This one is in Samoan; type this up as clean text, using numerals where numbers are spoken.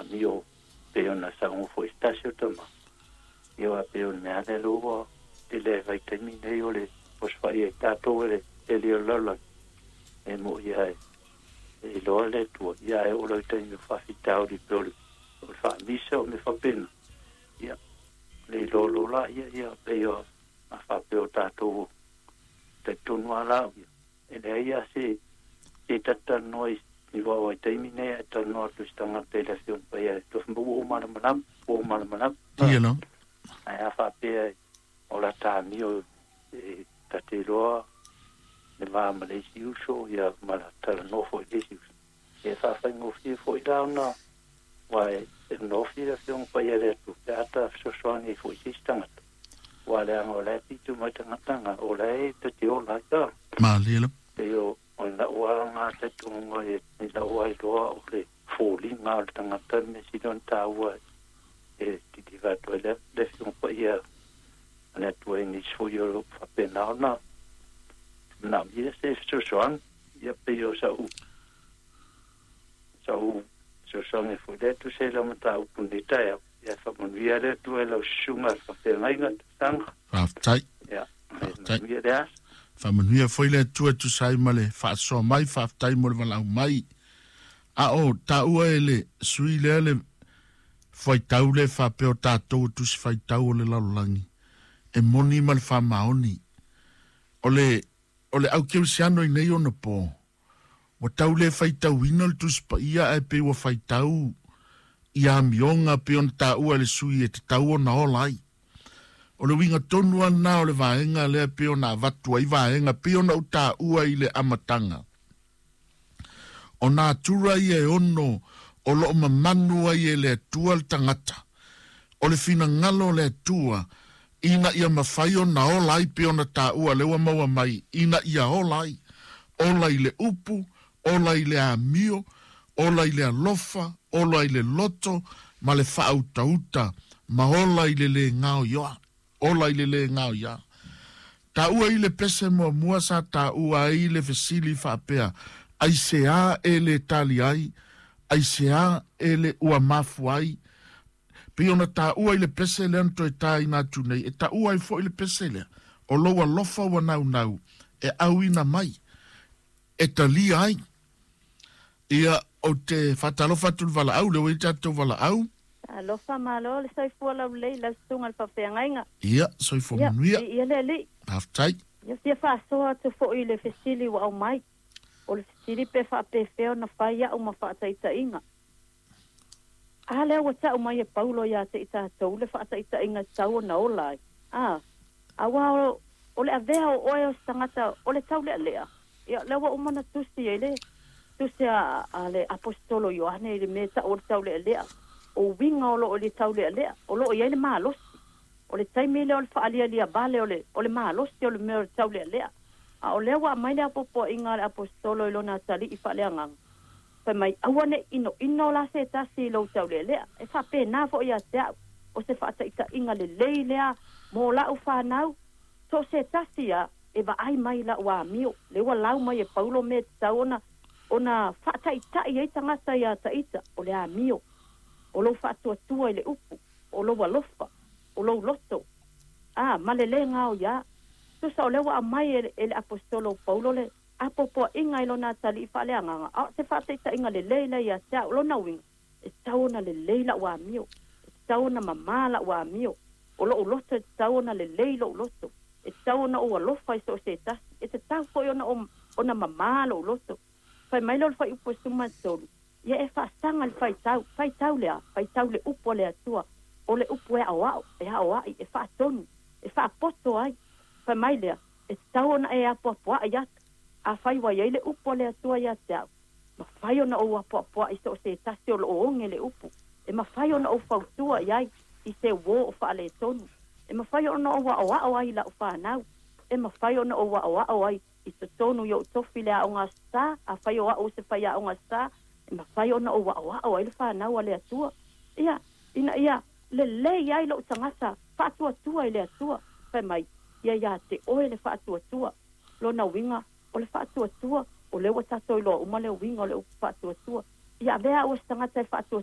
amio pei ona sauga fo'i se tasi o tama. Ia aua pei o le mea lava lea ua tele ai vaitaimi nei o le osofai ai tatou e le tele o le lalolagi e mo'i lava e iloa le Atua, ia ae oo loa i taimi o faafitauli pei o le faamisa o mea faapena, ia le iloa loa laia, ia pei o a faapea o tatou talitonu lava la au ia, e leai lava se se ta te talanoa i vaitaimi nei ae talanoa atu i se tagata i le Afioga Paia e toe fai mai ua ou malamalama, ua ou malamalama. Ia lava. Ae a faapea o la ta amio e ta te iloa le va ma le isi uso ia ma la talanoa foi i le isi uso, ia e faafaigofie foi la ona aua e nofi le Afioga Paia i le Atua pe a ta fesoasoani ai foi i se isi tagata, aua leaga o la e pito mai tagata na o la e ta te ola ai la. Malie lava. Pei o lau lava talitonuga i lau lava iloa o le foliga o le tagata le mea sili ona taua e tilivai atu ai le Afioga Paia a le Atua i nisi foi o lo o faapena ona manaomia se fesoasoani. Ia pei o sa'u sa'u fesoasoani foi lea e tusa ai lau mataupu i lenei taeao. Ia faamanuia le Atua i lau susuga i le faafeagaiga tausaga. Faafetai. Ia Faafetai. manuia le aso. Faamanuia foi le Atua e tusa ai ma le faasoa mai, faafetai mo le valaau mai. A o taua e le sui lea le faitau lea faapea o tatou o tusi faitau o le lalolagi, e moni ma le faamaoni. O le, o le aukerisiano i nei ona po, ua tau le faitauina le Tusi Paia ae pei ua faitau i amioga pei ona taua e le sui e tatau ona ola ai. O le uiga tonu lava lena o le vaega lea pei ona avatu ai vaega pei ona ou taua i le amataga. O natura ia e ono o lo o mamanu ai e le Atua le tagata. O le finagalo o le Atua ina ia mafai ona ola ai pei ona taua lea ua maua mai ina ia ola ai. Ola i le upu, ola i le amio, ola i le alofa, ola i le loto ma le faautauta, ma ola i le lē gaoioa. Ola i le lē gaoioa. Taua i le pese muamua sa taua ai le fesili faapea, Aisea e le tali ai? Aisea e le ua mafua ai? Pei ona taua i le pese lea na toe taina atu nei, e taua ai foi le pese lea, o lou alofa ua naunau e auina mai, e talia ai. Ia, ou te faatalofa atu i le valaau, lea ua i ai tatou valaau. Talofa malo le soifua laulelei i lau susuga i le faafeagaiga. Ia, soifua Ia, manuia. viia le Alii. Faafetai. Ia fia faasoa atu foi i le fesili ua aumai. O le fesili pe faapefea ona fai au ma faataitaiga. A lea ua tau mai e Paulo ia te i tatou le faataitaiga e tatau ona ola ai. A, aua o, o le avea o oe o se tagata o le taulealea, ia, lea ua uma ona tusi ai le tusi a, a le Aposetolo Ioane i le mea e tau o le taulealea, o uiga o lo o i le taulealea, o lo o i ai le malosi. O le taimi lea o le faalialia vale o le, o le malosi o le mea o le taulealea. A o lea ua aumai le apoapoaiga a le Aposetolo i lona atalii faaleagaga, Fai mai, Aua ne i inoino la se tasi i lou taulealea. E faapena foi ia te au, o se faataitaiga lelei lea mo la'u fanau, so o se tasi a e vaai mai i la'u amio, lea ua lau mai e Paulo mea e tatau ona ona faataitai ai tagata ia Taita, o le amio, o lou faatuatua i le upu, o lou alofa, o lou loto, a, ma le lē gaoiā. Tusa o lea ua aumai e e le Aposetolo o Paulo le apoapoaiga i lona atalii faaleagaga, a o se faataitaiga lelei lea ia te au. O lona uiga, e tatau ona lelei la'u amio, e tatau ona mamā la'u amio, o lo'u loto e tatau ona lelei lo'u loto, e tatau ona ou alofa i so o se tasi, e tatau foi ona ona mamā lo'u loto. Fai mai lea o le fuaiupu e 13, Ia e faasaga i le faitau, faitau le a? Faitau le upu a le Atua, o le upu e aoao, e aoai, e faatonu, e faapoto ai. Fai mai lea, E tatau ona e apoapoai atu. Afai ua i ai le upu a le Atua ia te au, mafai ona ou apoapoai i so o se tasi o lo o oge le upu. E mafai ona ou fautua i ai i se uō o faaletonu. E mafai ona ou aoao ai i lau fanau. E mafai ona ou aoao ai i totonu i ou tofi i le Aoga Aso Sa. Afai o au o se faiaoga Aso Sa, e mafai ona ou aoao ai le fanau a le Atua. Ia, ina ia lelei ai lou tagata faatuatua i le Atua. Fai mai, Ia ia te oe le faatuatua. Lona uiga, o le faatuatua, o lea ua tatou iloa uma le uiga o le upu faatuatua. Ia avea au o se tagata e faatuatua.